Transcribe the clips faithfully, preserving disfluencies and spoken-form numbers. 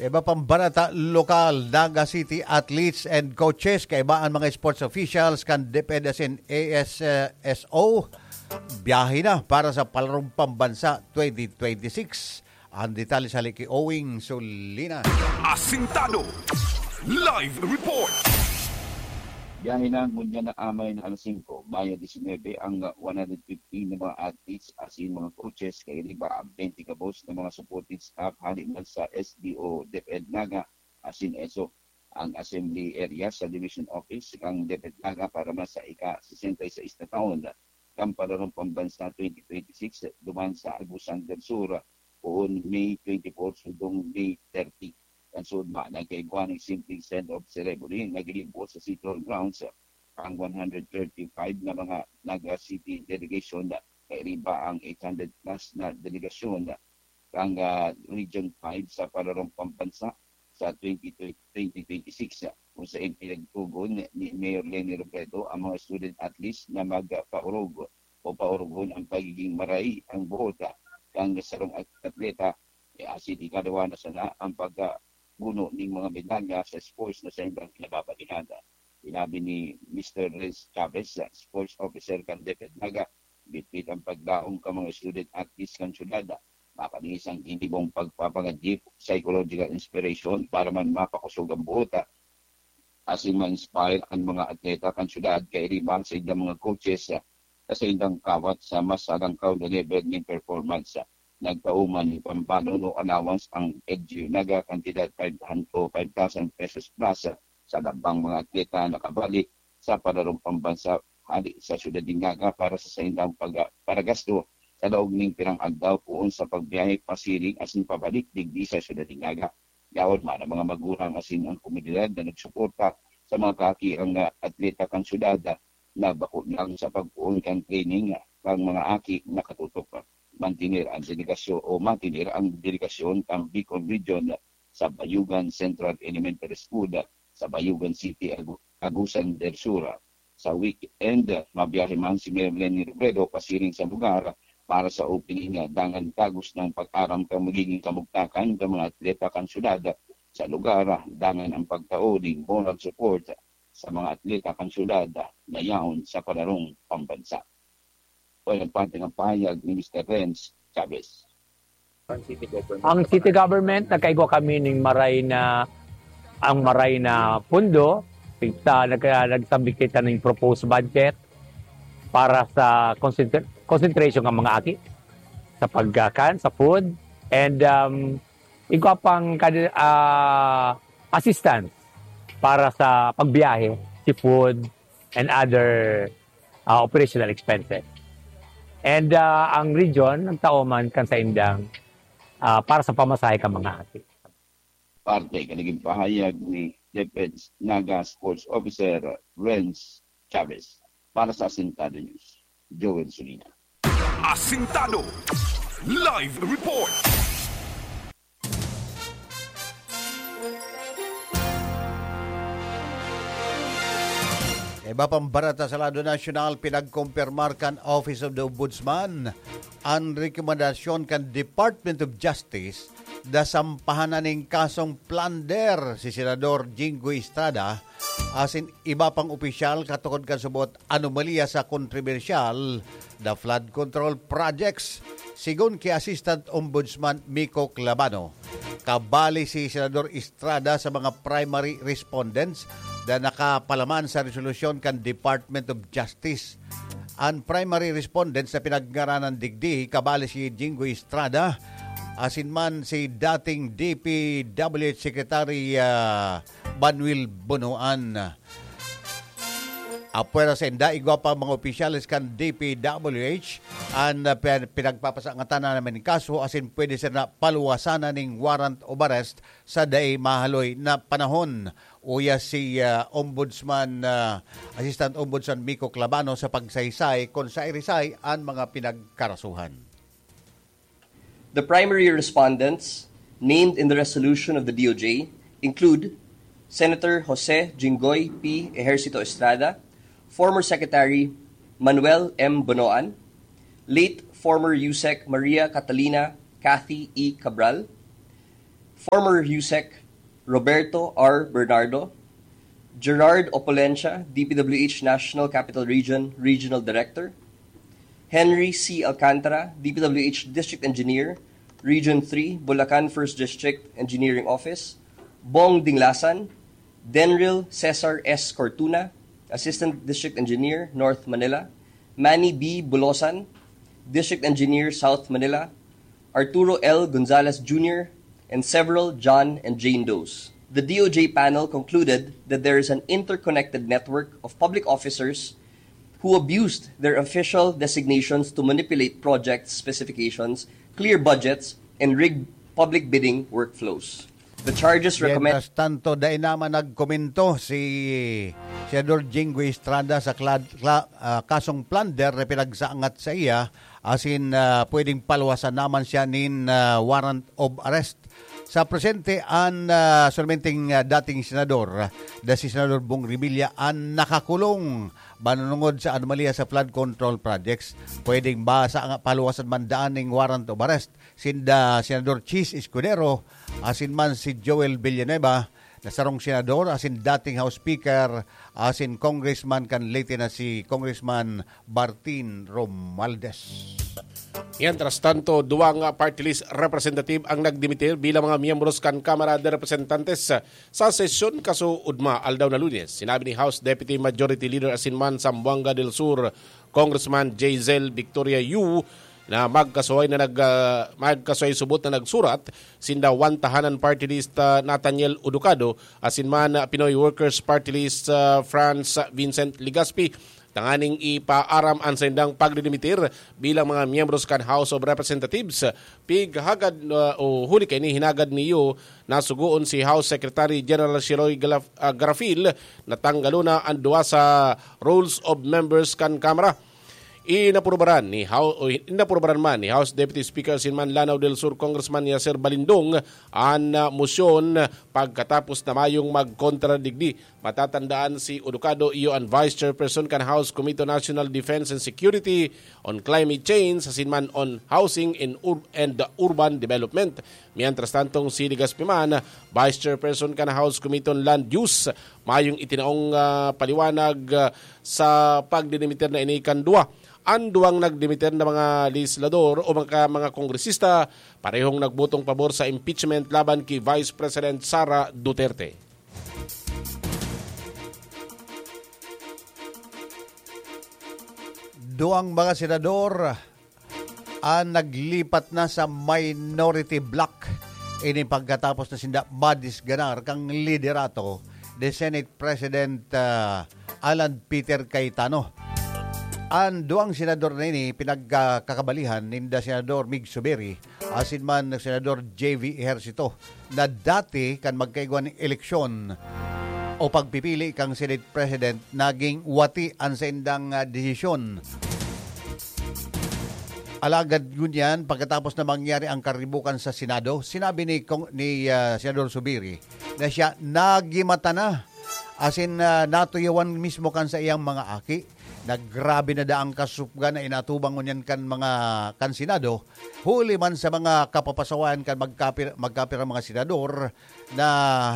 Iba pang barata, lokal, Naga City athletes and coaches, kaiba an mga sports officials kan DepEd asin A S S O, biyahe na para sa Palarong Pambansa twenty twenty-six. Ang detalye sa Liki Owing Solinas. Asintado. Live report. Biyahe na ngunyan na amay na alas singko, Mayo disinebe, ang one hundred fifteen na mga athletes asin mga coaches, kairiba ang twenty gabos na mga supporting staff hali man sa S D O, DepEd Naga asin ESO. Ang assembly area sa division office kan DepEd Naga para man sa ika-sesenta y seis na taon kan Palarong Pambansa twenty twenty-six duman sa Agusan del Sur, poon May twenty-four sundong May thirty. Kan sudma, nagkaigwa nin simpleng send-off ceremony na ginibo sa City Hall grounds ang one hundred thirty-five na mga Naga City delegation, kairiba ang eight hundred plus na delegasyon kan, ah, Region five sa Palarong Pambansa sa twenty twenty, twenty twenty-six, kung saen pinagtugon ni Mayor Leni Robredo ang mga student athletes na magpaurog o paurugon ang pagiging maray ang buot kan sarong at-, atleta, eh, asin ikalawa na sana ang pagkaguno ning mga medalya sa sports na saindang kinababalihan. Sinabi ni Mister Renz Chavez, ah, sports officer kan DepEd Naga, bitbit ang paglaom kan mga student athletes kan syudad, mapanis ang ginibong pagpapangadyi, psychological inspiration para man mapakosog ang buot, ah, asin ma-inspire ang mga atleta kan syudad, kairiba sa indang mga coaches, ah, sa indang kawat sa mas alangkaw na level nin performance. Nagtao man nin pambalon o allowance ang L G U Naga, kantidad five hundred o five thousand pesos plus, ah, sa labang mga atleta nakabalik sa Palarong Pambansa hali sa syudad nin Naga para sa saindang pag-, paragasto sa laog ning pirang aldaw poon sa pagbiyahe pasiring asin pabalik digdi sa syudad nin Naga. Yaon man ang mga magurang asin ang komunidad na nagsuporta sa mga kaaki ang, ah, atleta kan syudad, ah, na bako lang sa pagpoon kan training, ah, kan mga aki nakatutok, ah, mantener ang delegasyon o mantener ang delegasyon kan Bicol Region, ah, sa Bayugan Central Elementary School, ah, sa Bayugan City, Agu-, Agusan del Sur. Sa weekend, mabiyahe man si Mayor Leni Robredo pasiring sa lugar para sa opening, dangan tagos na pag-aram kan magiging kamugtakan kan mga atleta kan syudad sa lugar, dangan ang pagtao nin moral support sa mga atleta kan syudad na yaon sa Palarong Pambansa. O, yan parte ng pahayag ni Mister Renz Chavez. Ang city government, nagkaigwa kami ning maray na, ang maray na pundo. Kita, nagka-, nagsabit kita ning proposed budget para sa concentr-, concentration ng mga aki sa pagkakan, sa food, and, um, igwa pang kadi-, ah, assistance para sa pagbiyahe, si food, and other, ah, operational expenses. And, ah, ang region, nagtao man kan saindang, ah, para sa pamasahe kan mga aki. Parte kan naging pahayag ni DepEd Naga Sports Officer Renz Chavez. Para sa Asintado News, Joel Sulina. Asintado Live Report. Iba pang barata sa lado nasyonal, pinagkumpirmar kan Office of the Ombudsman an rekomendasyon kan Department of Justice na sampahan na nin kasong plunder si Senador Jinggoy Estrada asin iba pang opisyal katukod kan subot anomalya sa kontrobersyal na flood control projects. Sigon ki Assistant Ombudsman Miko Clabano, kabali si Senador Estrada sa mga primary respondents na nakapalaman sa resolusyon kan Department of Justice. An primary respondents na pinagngaranan digdi, kabali si Jinggoy Estrada, asin man si dating D P W H Secretary, ah, Manuel Bonoan. Apwera sainda, igwa pa mga opisyales kan D P W H an, ah, pin-, pinagpapasangatan na naman nin kaso asin pwede sila paluwasan na ning warrant of arrest sa dai mahaloy na panahon. Uya si, ah, Ombudsman, ah, Assistant Ombudsman Miko Clabano sa pagsaysay kun sairisay an mga pinagkarasuhan. The primary respondents named in the resolution of the D O J include Senator Jose Jinggoy P. Ejercito Estrada, former Secretary Manuel M. Bonoan, late former USEC Maria Catalina Cathy E. Cabral, former HUSEC Roberto R. Bernardo, Gerard Opulencia, D P W H National Capital Region Regional Director, Henry C. Alcantara, D P W H District Engineer, Region three, Bulacan First District Engineering Office, Bong Dinglasan, Denril Cesar S. Cortuna, Assistant District Engineer, North Manila, Manny B. Bulosan, District Engineer, South Manila, Arturo L. Gonzalez Junior, and several John and Jane Does. The D O J panel concluded that there is an interconnected network of public officers who abused their official designations to manipulate project specifications, clear budgets, and rig public bidding workflows. The charges recommend Mientras tanto, dai naman nagkomento si Senador Jinggoy Estrada sa klad- kla- ah, kasong plunder na pinagsangat sa iya, asin ah, pwedeng paluwasan naman siya nin ah, warrant of arrest. Sa presente, an ah, solmenteng ah, dating senador, ah, na si Senador Bong Revilla, an nakakulong manunungod sa anomalya sa flood control projects. Pwedeng ba sa nga paluwasan man daan ning warrant of arrest sinda Senador Chiz Escudero, asin man si Joel Villanueva, na sarong senador, asin dating House Speaker, asin Congressman kan Leyte na si Congressman Martin Romualdez. Mientras tanto, duwang party list representative ang nagdimitir bilang mga miyembros kan Kamara de Representantes sa sesyon kasuodma, aldaw na Lunes. Sinabi ni House Deputy Majority Leader asin man Zamboanga del Sur Congressman Jazel Victoria Yu na magkasuhay na nag, ah, magkasuhay subot na nagsurat sinda One Tahanan Party List, ah, Nathaniel Uducado, asin man, ah, Pinoy Workers Party List, ah, Franz Vincent Legaspi, tanganing ipaaram an saindang pagdidimitir bilang mga miyembros kan House of Representatives. Pighagad, ah, o huli kaini, hinagad niyo na sugoon si House Secretary General Sheroy Galaf-, ah, Garafil na tanggalon na an duwa sa Rolls of Members kan Kamara. Inaprobaran ni Hou-, o, inaprobaran man ni House Deputy Speaker asin man Lanao del Sur Congressman Yasser Balindong an, ah, mosyon pagkatapos na mayong magkontra digdi. Matatandaan, si Uducado iyo an Vice Chairperson kan House Committee on National Defense and Security, on Climate Change, asin man on Housing and Ur-, and Urban Development. Mientras tantong si Legaspi man, Vice Chairperson kan House Committee on Land Use, mayong itinaong, ah, paliwanag, ah, sa pagdidimiter na ini kan duwa. An duwang nagdimiter na mga legislador o mga, mga kongresista, parehong nagbotong pabor sa impeachment laban ki Vice President Sara Duterte. Duwang mga senador an naglipat na sa minority bloc. Ini pagkatapos na sinda madisganar kan liderato ni Senate President, ah, Alan Peter Cayetano. An duwang senador na ini pinagkakabalihan ninda Senador Mig Zubiri asin man Senador J V Ejercito, na dati kan magkaigwa nin eleksyon o pagpipili kan Senate President, naging wati an saindang, ah, desisyon. Alagad ngunyan, pagkatapos na mangyari ang karibukan sa Senado, sinabi ni Kong-, ni, ah, Senador Zubiri na siya nagimata na, asin, ah, natuyawan mismo kan sa iyang mga aki. Naggrabe na daang kasupgan na inatubang ngunyan kan mga, kan Senado, huli man sa mga kapapasawayan kan magkapir-, magkapirang mga senador na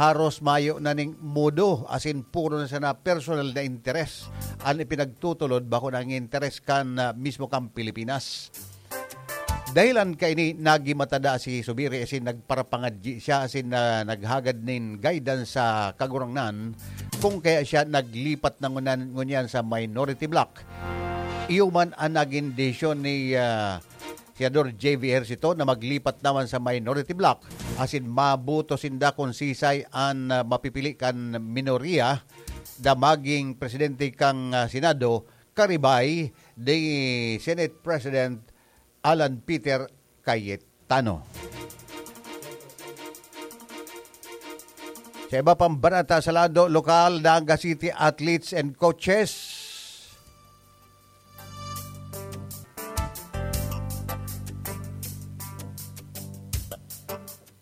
haros mayo na ning modo, asin puro na sana personal na interes an ipinagtutulod, bako na ang interes kan, ah, mismo kan Pilipinas. Dahilan kaini, nagimata na si Zubiri asin nagparapangadyi siya asin, ah, naghagad nin guidance sa Kagurangnan, kung kaya siya naglipat na ngunan-, ngunyan sa minority bloc. Iyo man an nagin desisyon ni, ah, Senador J V Ejercito na maglipat naman sa minority bloc, asin maboto sinda kun sisay an, ah, mapipili kan minoriya na maging presidente kan, ah, Senado, karibay ni Senate President Alan Peter Cayetano. Sa iba pang barata sa lado lokal, Naga City athletes and coaches.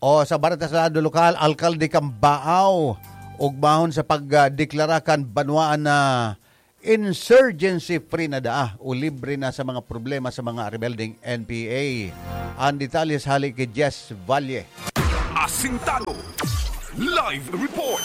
O sa barata sa lado lokal, alkalde kan Baao, ugmahon sa pagdeklara kan banwaan na insurgency free na daa o libre na sa mga problema sa mga rebeldeng N P A. Ang detalye sa hali ki Jess Valle. Sintado. Live report.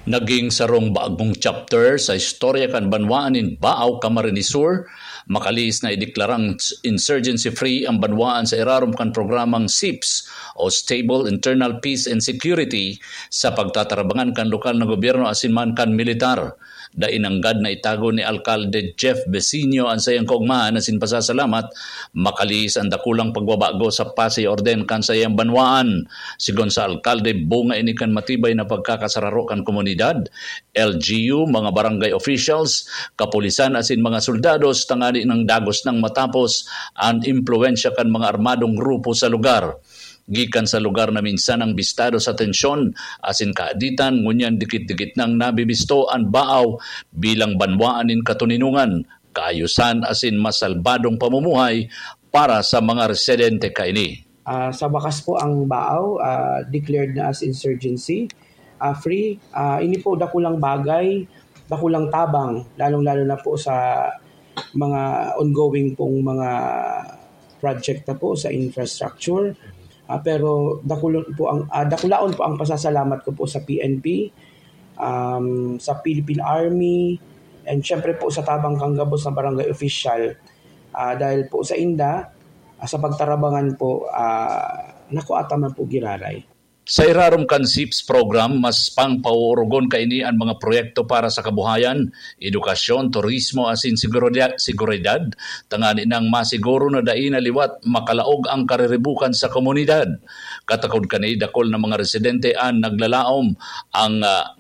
Naging sarong bagong chapter sa istorya kan banwaan nin Baao, Camarines Sur, makalihis na ideklarang insurgency-free ang banwaan sa irarom kan programang SIPS o Stable Internal Peace and Security sa pagtatarabangan kan lokal na gobyerno asin man kan militar. Dai nanggad na itago ni Alkalde Jeff Besinio an saiyang kaogmahan asin pasasalamat makalihis an dakulang pagbabago sa pasi orden kan saiyang banwaan. Sigon sa alkalde, bunga ini kan matibay na pagkakasararo kan komunidad, L G U, mga barangay officials, kapulisan asin mga soldados tangani nang dagos nang matapos an impluwensya kan mga armadong grupo sa lugar. Gikan sa lugar na minsan nang bistado sa tensyon asin kaaditan, ngunyan dikit-dikit nang nabibisto an Baao bilang banwaan nin katoninongan, kaayusan asin mas salbadong pamumuhay para sa mga residente kaini. Ah, sa bakas po, ang Baao, ah, declared na as insurgency, ah, free. Ah, ini po dakulang bagay, dakulang tabang, lalong-lalo na po sa mga ongoing pong mga project na po sa infrastructure. Ah, pero dakulon po ang, ah, dakulaon po ang pasasalamat ko po sa P N P, um, sa Philippine Army, and syempre po sa tabang kan gabos na barangay official. Ah, dahil po sa inda, ah, sa pagtarabangan po, ah, nakuha ta man po giraray. Sa irarom kan SIPS program, mas pangpauurugon kaini an mga proyekto para sa kabuhayan, edukasyon, turismo asin seguridad, seguridad, tangani nang masiguro na dai na liwat makalaog ang kariribukan sa komunidad. Katakod kani, dakul na mga residente an naglalaom ang, ah,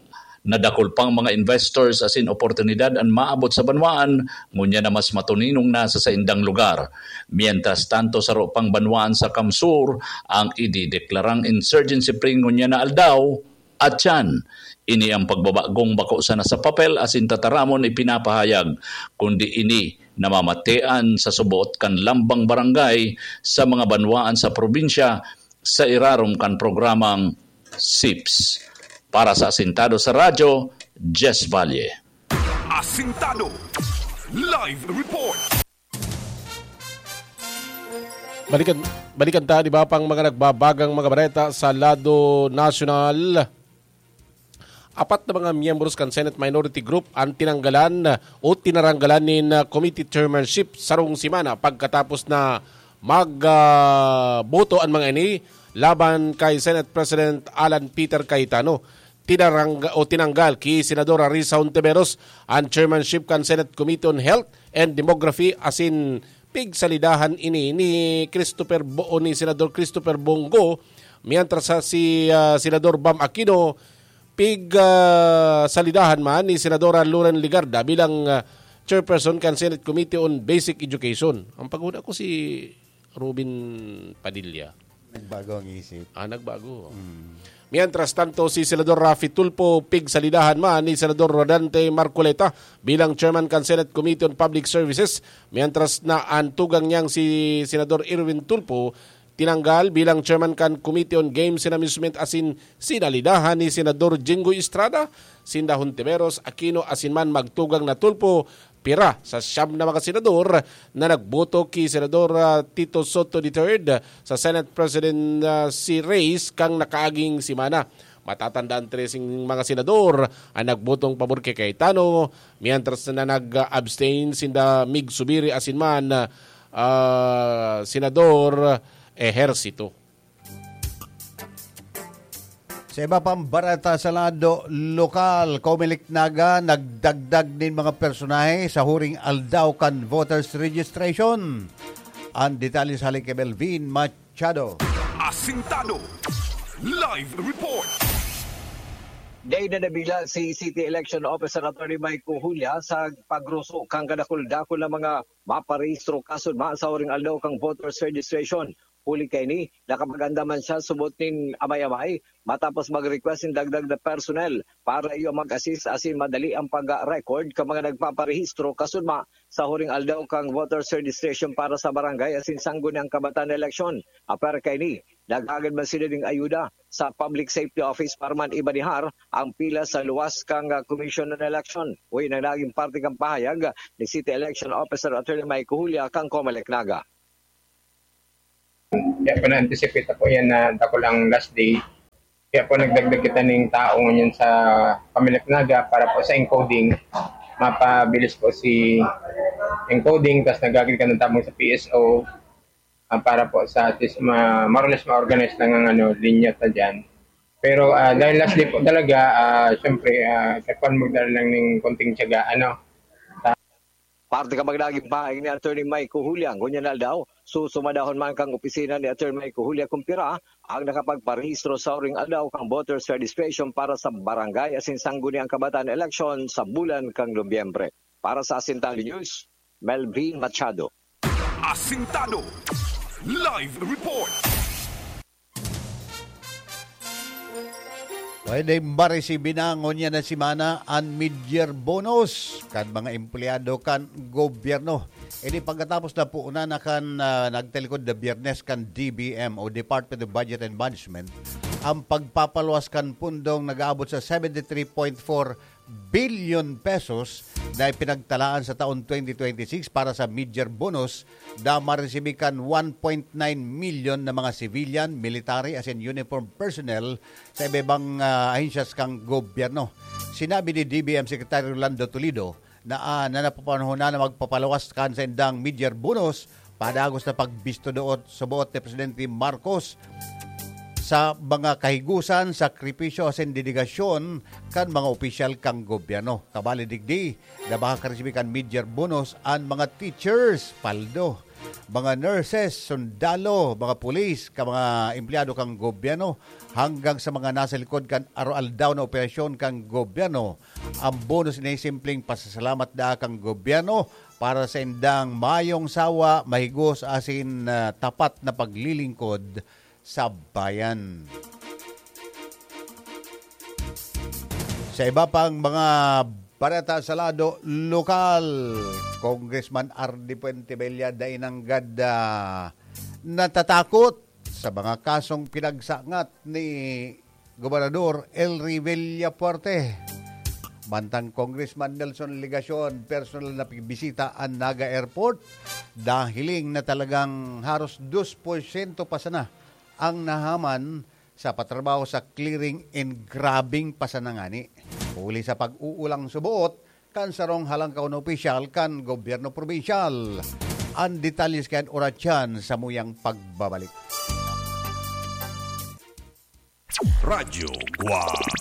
nadakul pang mga investors asin oportunidad an maabot sa banwaan, ngunyan na mas matoninong na sa saindang lugar. Mientras tanto, saro pang banwaan sa Kamsur ang idideklarang insurgency free ngunyan na aldaw, at siyan, ini ang pagbabagong bako sana sa papel asin tataramon ipinapahayag, kundi ini namamatean sa suboot kan lambang barangay sa mga banwaan sa probinsya sa irarom kan programang SIPS. Para sa Asintado sa Radyo, Jess Valle. Asintado. Live report. Balikan, balikan ta, di ba, pang mga nagbabagang mga bareta sa lado nasyonal. Apat na mga miyembros kan Senate Minority Group ang tinanggalan o tinaranggalan nin, ah, committee chairmanship sarong semana pagkatapos na mag, ah, boto an mga ini laban kay Senate President Alan Peter Cayetano. Tinarangga-, o tinanggal ki Senadora Risa Hontiveros an chairmanship kan Senate Committee on Health and Demography asin pigsalidahan ini ni Christopher Bo-, o ni Senador Christopher Bong Go, mientras sa si, ah, Senador Bam Aquino pig, ah, salidahan man ni Senadora Loren Legarda bilang, ah, chairperson kan Senate Committee on Basic Education. Ang paghuna ko si Robin Padilla. Nagbago ang isip. Ah, nagbago. Mientras tanto, si Senador Raffy Tulfo pigsalidahan man ni Senador Rodante Marcoleta bilang chairman kan Senate Committee on Public Services, mientras na an tugang niyang si Senador Erwin Tulfo tinanggal bilang chairman kan Committee on Games and Amusement asin sinalidahan ni Senador Jinggoy Estrada, sinda Hontiveros, Aquino asin man magtugang na Tulfo. Pira sa siyam na mga senador na nagboto ki Senador, ah, Tito Sotto the third sa Senate President, ah, si Reyes kang nakaaging semana. Matatandaan, treseng mga senador ang nagbotong pabor kay Cayetano, mientras na nag-abstain sinda Mig Zubiri asin man, ah, Senador Ejercito. Sa iba pang bareta sa lado lokal, Comelec Naga nagdagdag nin mga personahe sa huring aldaw kan voters registration. Ang detalye sa hali kay Melvin Machado. Asintado. Live report. Dai na nabila si City Election Officer Attorney Mike Cojulia sa pagruso kan kadakul-dakul na mga maparehistro kasudma sa huring aldaw kan voters registration. Huli kaini, nakapag-andam man siya subot nin amay-amay matapos mag-request nin dagdag na personnel para iyo mag-assist asin madali ang pag-record kan mga nagpaparehistro kasudma sa huring aldaw kan voters registration para sa barangay asin sangguniang kabataan na eleksyon. Apwera kaini, naghagad man sila nin ayuda sa Public Safety Office para man imanehar ang pila sa luwas kan, ah, Commission on Election. Uy, na naging parte kan pahayag ni City Election Officer Attorney Mike Cojulia kan Comelec Naga. Kaya po na-anticipate na po yan na dakulang last day. Kaya po nagdagdag kita ng tao ngayon sa Kaminat Naga para po sa encoding. Mapabilis po si encoding, tapos nagagawin ka ng tabong sa P S O, ah, para po sa at least ma-, more or less ma-organize lang ang ano, linya ta dyan. Pero ah, dahil last day po talaga, ah, syempre, ah, sa kwan magdala lang ng konting tiyaga, ano. Parte ka magdaging pahaing ni Attorney Mike Huliang, ngunyan na aldaw, susumadahon man kang opisina ni Attorney Mike Huliang kung pira ang nakapagparehistro sa uring aldaw kang voters registration para sa barangay asin sangguniang kabataan election sa bulan kang Nobyembre. Para sa Asintado News, Melvin Machado. Asintado Live Report. Pwede maresibi na ngunyan na semana an mid-year bonus kan mga empleyado kan gobyerno. Ini pagkatapos na puunan na kan ah, nagtalikod na Biyernes kan D B M o Department of Budget and Management ang pagpapaluwas kan pundong nag-aabot sa seventy-three point four billion pesos na ipinagtalaan sa taon twenty twenty-six para sa mid-year bonus na maresibi kan one point nine million na mga civilian, military asin uniform personnel sa iba-ibang ah, ahensyas kan gobyerno. Sinabi ni D B M Secretary Rolando Toledo na ah, na napapanahon na na magpapaluwas kan sa indang mid-year bonus padagos na pagbisto doot sa buot ni Presidente Marcos sa mga kahigusan, sakripisyo asin dedigasyon kan mga opisyal kan gobyerno. Kabali digdi, na baka karesibi kan mid-year bonus an mga teachers, paldo, mga nurses, sundalo, mga pulis, ka mga empleyado kan gobyerno, hanggang sa mga nasa likod kan araw-aldaw na operasyon kan gobyerno. Ang bonus ini simpleng pasasalamat daa kan gobyerno para sa indang mayong sawa, mahigos asin ah, tapat na paglilingkod sa bayan. Sa iba pang mga bareta sa lado lokal, Congressman Ardy Fuentebella dai nanggad ah, natatakot sa mga kasong pinagsangat ni Gobernador Elry Villafuerte. Mantang Congressman Nelson Legacion personal na pigbisita an Naga Airport, nahiling na talagang haros dos por siyento pa sana ang nahaman sa patrabaho sa clearing and grabbing pa sana ngani. Huli sa pag-uulang suboot kan sarong halangkaw na opisyal kan gobyerno probinsyal. Ang detalye sa kaiyan oras sa muyang pagbabalik. Radyo Guwang.